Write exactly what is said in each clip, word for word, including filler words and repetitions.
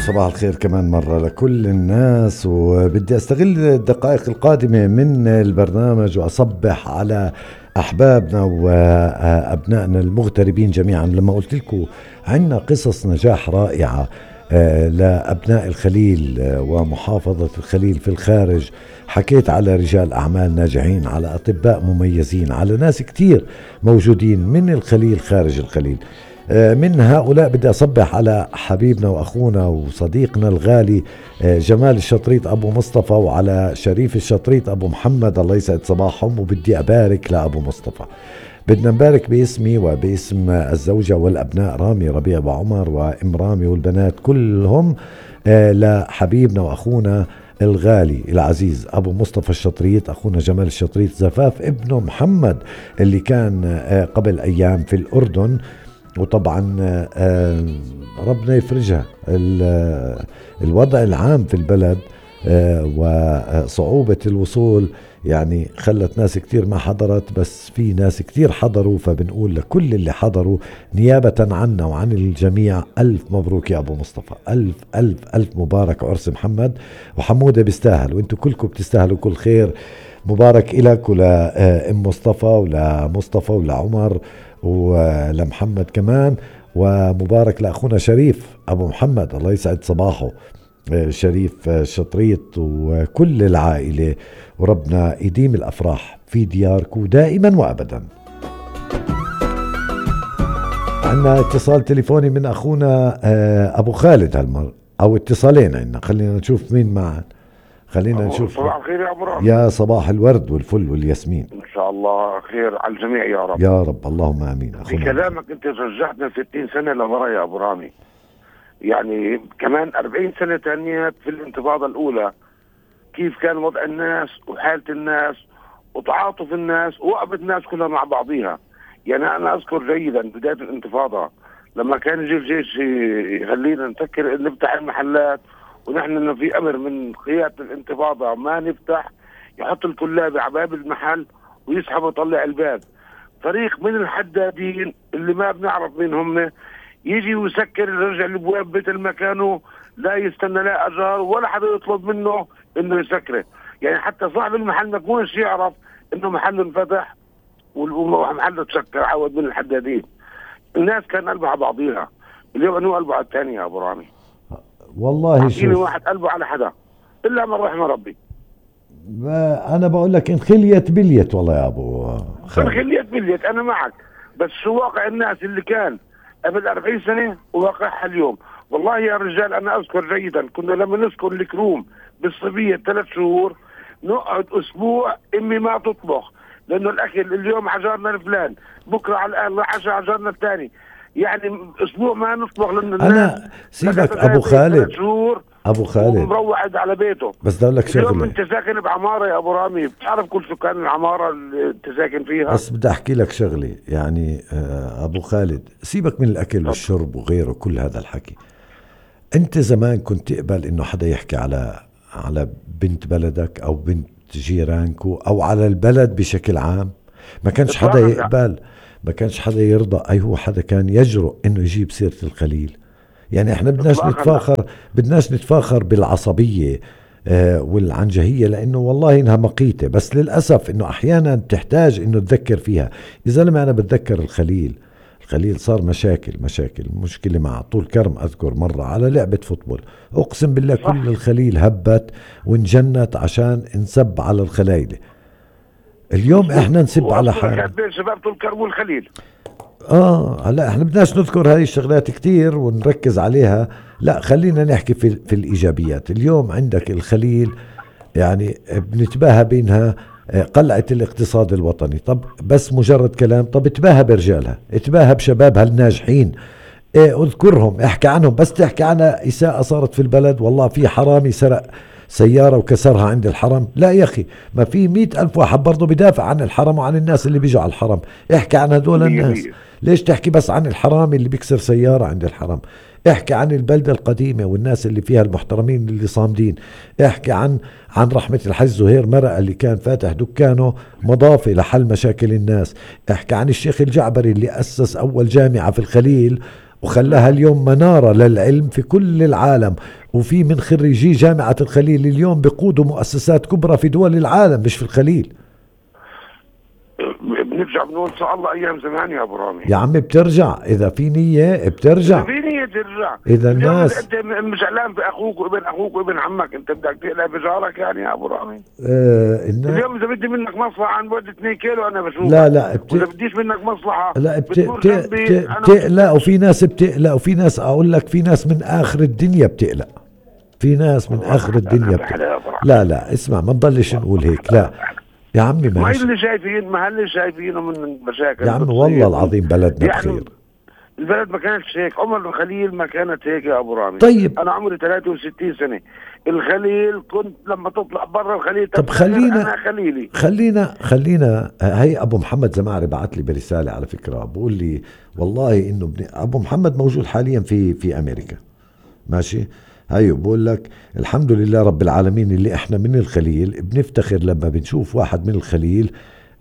صباح الخير كمان مرة لكل الناس، وبدي أستغل الدقائق القادمة من البرنامج وأصبح على أحبابنا وأبنائنا المغتربين جميعا. لما قلت لكم عنا قصص نجاح رائعة لأبناء الخليل ومحافظة الخليل في الخارج، حكيت على رجال أعمال ناجحين، على أطباء مميزين، على ناس كتير موجودين من الخليل خارج الخليل. من هؤلاء بدي أصبح على حبيبنا وأخونا وصديقنا الغالي جمال الشطريط أبو مصطفى، وعلى شريف الشطريط أبو محمد، الله يسعد صباحهم. وبدي أبارك لأبو مصطفى، بدنا نبارك باسمي وباسم الزوجة والأبناء رامي ربيع وعمر وإم رامي والبنات كلهم لحبيبنا وأخونا الغالي العزيز أبو مصطفى الشطريط، أخونا جمال الشطريط، زفاف ابنه محمد اللي كان قبل أيام في الأردن. وطبعا ربنا يفرجها، الوضع العام في البلد وصعوبة الوصول يعني خلت ناس كتير ما حضرت، بس في ناس كتير حضروا، فبنقول لكل اللي حضروا نيابة عنا وعن الجميع ألف مبروك يا أبو مصطفى، ألف ألف ألف مبارك عرس محمد. وحمودة بيستاهل، وانتو كلكم بتستاهلوا كل خير. مبارك إلك ولأم مصطفى ولمصطفى ولعمر ولمحمد كمان، ومبارك لأخونا شريف أبو محمد، الله يسعد صباحه، شريف شطريط وكل العائلة، وربنا يديم الأفراح في دياركم دائما وأبدا. عنا اتصال تليفوني من أخونا أبو خالد هالمرة، أو اتصالين عنا، خلينا نشوف مين معنا. خلينا نشوف. صباح الخير يا أبو رامي. يا صباح الورد والفل والياسمين، إن شاء الله خير على الجميع يا رب. يا رب اللهم آمين. في كلامك أنت رجعتنا ستين سنة لورا يا أبو رامي، يعني كمان أربعين سنة تانية في الانتفاضة الأولى، كيف كان وضع الناس وحالة الناس وتعاطف الناس ووقفة الناس كلها مع بعضيها. يعني أنا أذكر جيدا بداية الانتفاضة لما كان يجي الجيش يخلينا نسكر نفتح المحلات، ونحن إنه في أمر من قيادة الانتفاضة ما نفتح، يحط الكلاب على باب المحل ويسحب ويطلع الباب. فريق من الحدادين اللي ما بنعرف مين هم يجي ويسكر، يرجع الابواب بيت المكانه، لا يستنى لا اجار ولا حدا يطلب منه انه يسكره. يعني حتى صاحب المحل ما يكونش يعرف انه محله انفتح ومحله تسكر، عود من الحدادين. الناس كان قلبها على بعضيها، اليوم انه قلبه على الثاني يا ابو رامي. والله شوف، واحد قلبه على حدا الا من رحم ربي. انا بقول لك انخليت بليت والله يا ابو خالد، انخليت بليت، انا معك، بس شو واقع الناس اللي كان قبل أربعين سنة وواقعها اليوم. والله يا رجال أنا أذكر جيدا كنا لما نذكر الكروم بالصبية ثلاث شهور نقعد أسبوع إمي ما تطبخ، لأنه الأكل اليوم عجرنا الفلان، بكرة على العشاء عجرنا الثاني، يعني أسبوع ما نطبخ. لأن أنا سيبك أبو خالد، أبو خالد ومروعد على بيته. بس بدي أقول لك شغلة، اليوم أنت ساكن بعمارة يا أبو رامي، بتعرف كل سكان العمارة اللي أنت ساكن فيها. بس بدي أحكي لك شغلة يعني أبو خالد، سيبك من الأكل والشرب وغيره كل هذا الحكي. أنت زمان كنت تقبل إنه حدا يحكي على على بنت بلدك أو بنت جيرانكو أو على البلد بشكل عام؟ ما كانش حدا يقبل، ما كانش حدا يرضى. أي هو حدا كان يجرؤ إنه يجيب سيرة الخليل؟ يعني احنا بدناش نتفاخر، بدناش نتفاخر بالعصبية آه والعنجهية، لانه والله انها مقيتة، بس للأسف انه احيانا تحتاج انه تذكر فيها. اذا لما انا بتذكر الخليل، الخليل صار مشاكل مشاكل مشكلة مع طول كرم. اذكر مرة على لعبة فوتبول، اقسم بالله كل الخليل هبت وانجنت عشان نسب على الخلايلة. اليوم احنا نسب على حالنا. شباب طول كرم والخليل. اه هلا احنا بدناش نذكر هاي الشغلات كتير ونركز عليها، لا خلينا نحكي في, في الايجابيات. اليوم عندك الخليل يعني بنتباهى بينها قلعة الاقتصاد الوطني، طب بس مجرد كلام؟ طب اتباهى برجالها، اتباهى بشبابها الناجحين، اه اذكرهم، احكي عنهم. بس تحكي عنها إساءة صارت في البلد، والله في حرامي سرق سيارة وكسرها عند الحرم، لا يا أخي، ما في مئة ألف واحد برضو بدافع عن الحرم وعن الناس اللي بيجوا على الحرم. احكي عن هدول الناس، ليش تحكي بس عن الحرامي اللي بيكسر سيارة عند الحرم؟ احكي عن البلدة القديمة والناس اللي فيها المحترمين اللي صامدين. احكي عن عن رحمة الحج زهير مرقة اللي كان فاتح دكانه مضافة لحل مشاكل الناس. احكي عن الشيخ الجعبري اللي أسس أول جامعة في الخليل وخلاها اليوم منارة للعلم في كل العالم، وفي من خريجي جامعة الخليل اليوم بيقودوا مؤسسات كبرى في دول العالم مش في الخليل. بنرجع بنقول ان شاء الله ايام زمان يا ابو رامي. يا عمي بترجع اذا في نية بترجع، في نية ترجع. اذا الناس انت زعلان في اخوك وابن اخوك وابن عمك، انت بدك تقلع بجارك يعني يا ابو رامي. آه اليوم اذا بدي منك مصلحة عن بعد اثنين كيلو انا بشوفك. لا لا بت... واذا بديش منك مصلحة لا بت... بت... بت... بتقلق، وفي ناس بتقلق، وفي ناس اقول لك في ناس من اخر الدنيا بتقلق، في ناس من اخر الدنيا بتقلق. لا لا اسمع ما نضلش نقول هيك، لا يا عمي ما ماشي. اللي شايفين ما اللي شايفينه من المشاكل يا عمي والله العظيم بلدنا يعني بخير. البلد ما كانتش هيك، عمر الخليل ما كانت هيك يا ابو رامي. طيب انا عمري ثلاثة وستين سنة، الخليل كنت لما تطلع برا الخليل طب خلينا انا خليلي خلينا خلينا هي ابو محمد زمعري بعت لي برسالة على فكرة بقول لي والله انه ابن ابو محمد موجود حاليا في في امريكا ماشي. هيو بقول لك الحمد لله رب العالمين اللي احنا من الخليل بنفتخر لما بنشوف واحد من الخليل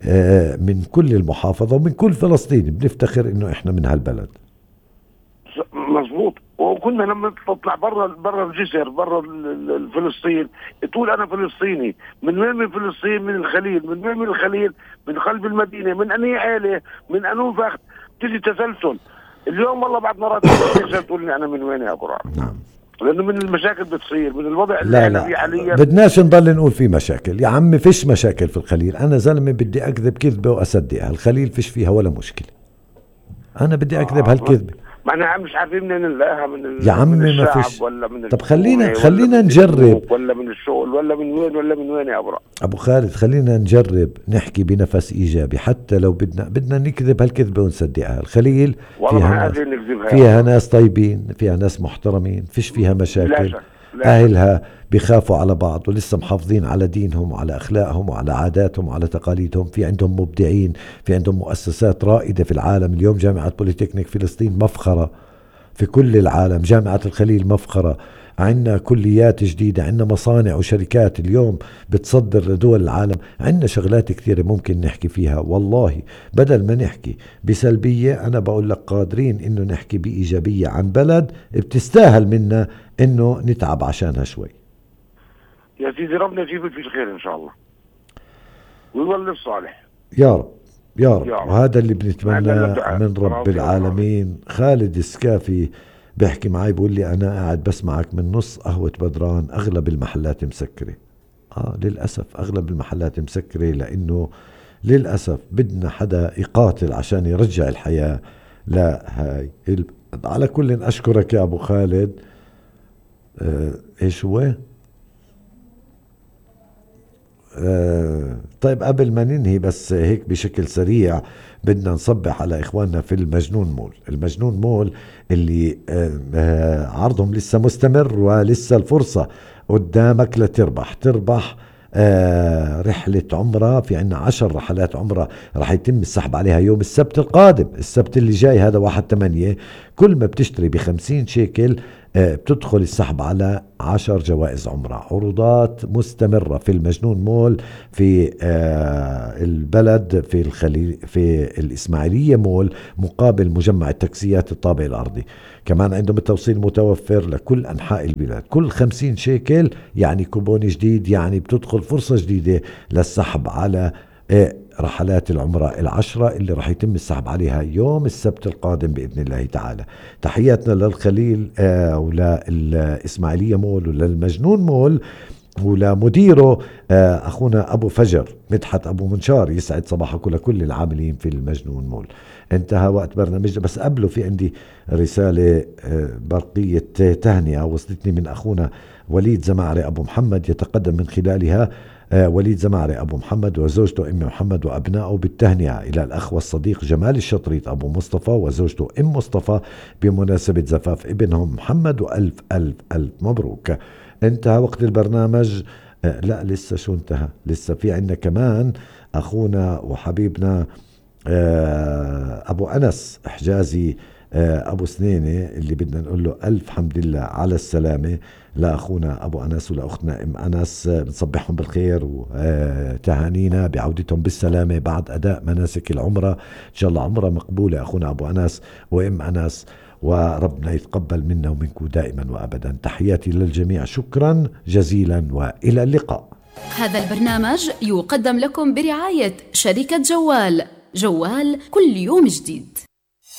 آه من كل المحافظة ومن كل فلسطين بنفتخر انه احنا من هالبلد. مظبوط. وكنا لما تطلع برا برا الجسر برا فلسطين تقول انا فلسطيني. من وين من فلسطين؟ من الخليل. من وين من الخليل؟ من قلب المدينة. من انهي عائلة؟ من انو فخت. تجي تسلسل. اليوم والله بعد مرات تقول لي انا من وين يا ابو رامي. نعم لانه من المشاكل بتصير من الوضع اللي لا احنا لا فيه حاليا. بدناش نضل نقول في مشاكل يا عمي، فيش مشاكل في الخليل. انا زلمه بدي اكذب كذبه واصدقها، الخليل فيش فيها ولا مشكله، انا بدي اكذب آه هالكذبه. ما انا مش عارفين منين نلاقيها، من يا عمي من ما الشعب فيش. ولا من طب خلينا خلينا من نجرب ولا من الشغل ولا من وين ولا من وين يا ابو رامي. ابو خالد خلينا نجرب نحكي بنفس ايجابي، حتى لو بدنا بدنا نكذب هالكذبه ونصدقها. الخليل فيها ناس فيها ناس طيبين، فيها ناس محترمين، فيش فيها مشاكل. لا شك. لا اهلها بيخافوا على بعض ولسه محافظين على دينهم وعلى اخلاقهم وعلى عاداتهم وعلى تقاليدهم. في عندهم مبدعين، في عندهم مؤسسات رائده في العالم. اليوم جامعه بوليتكنيك فلسطين مفخره في كل العالم، جامعة الخليل مفخرة. عندنا كليات جديدة، عندنا مصانع وشركات اليوم بتصدر لدول العالم. عندنا شغلات كثيرة ممكن نحكي فيها. والله بدل ما نحكي بسلبية أنا بقول لك قادرين إنه نحكي بإيجابية عن بلد بتستاهل منا إنه نتعب عشانها شوي. يا سيدي ربنا يجيب في الخير إن شاء الله ويولي الصالح يا رب يا رب. وهذا اللي بنتمناه من رب العالمين. خالد السكافي بيحكي معي بيقول لي أنا قاعد بسمعك من نص قهوة بدران، أغلب المحلات مسكرة. آه للأسف أغلب المحلات مسكرة، لأنه للأسف بدنا حدا يقاتل عشان يرجع الحياة لا هاي. على كل أشكرك يا أبو خالد. آه إيش هو؟ آه طيب قبل ما ننهي بس هيك بشكل سريع بدنا نصبح على إخواننا في المجنون مول. المجنون مول اللي آه آه عرضهم لسه مستمر ولسه الفرصة قدامك لتربح تربح آه رحلة عمرة. في عنا عشر رحلات عمرة رح يتم السحب عليها يوم السبت القادم، السبت اللي جاي هذا واحد تمانية. كل ما بتشتري بخمسين شيكل آه بتدخل السحب على عشر جوائز عمرة. عروضات مستمرة في المجنون مول في آه البلد في الخليل في الإسماعيلية مول مقابل مجمع التاكسيات الطابق الأرضي. كمان عندهم التوصيل متوفر لكل أنحاء البلاد. كل خمسين شيكل يعني كوبون جديد، يعني بتدخل فرصة جديدة للسحب على آه رحلات العمرة العشرة اللي رح يتم السحب عليها يوم السبت القادم بإذن الله تعالى. تحياتنا للخليل آه وللإسماعيلية مول وللمجنون مول ولمديره آه أخونا أبو فجر مدحت أبو منشار. يسعد صباحكم لكل العاملين في المجنون مول. انتهى وقت برنامجنا، بس قبله في عندي رسالة آه برقية تهنئة وصلتني من أخونا وليد زمعري أبو محمد، يتقدم من خلالها آه وليد زمعري أبو محمد وزوجته أم محمد وأبنائه بالتهنئة إلى الأخ والصديق جمال الشطريط أبو مصطفى وزوجته أم مصطفى بمناسبة زفاف ابنهم محمد، وألف ألف ألف مبروك. انتهى وقت البرنامج. آه لا لسه شو انتهى، لسه في عنا كمان أخونا وحبيبنا آه أبو أنس حجازي آه أبو سنينة اللي بدنا نقول له ألف حمد لله على السلامة. لأخونا أبو أنس ولأختنا أم أنس بنصبحهم بالخير وتهانينا بعودتهم بالسلامة بعد أداء مناسك العمرة. إن شاء الله عمرة مقبولة أخونا أبو أنس وأم أنس. وربنا يتقبل منا ومنكم دائما وأبدا. تحياتي للجميع، شكرا جزيلا وإلى اللقاء. هذا البرنامج يقدم لكم برعاية شركة جوال. جوال كل يوم جديد.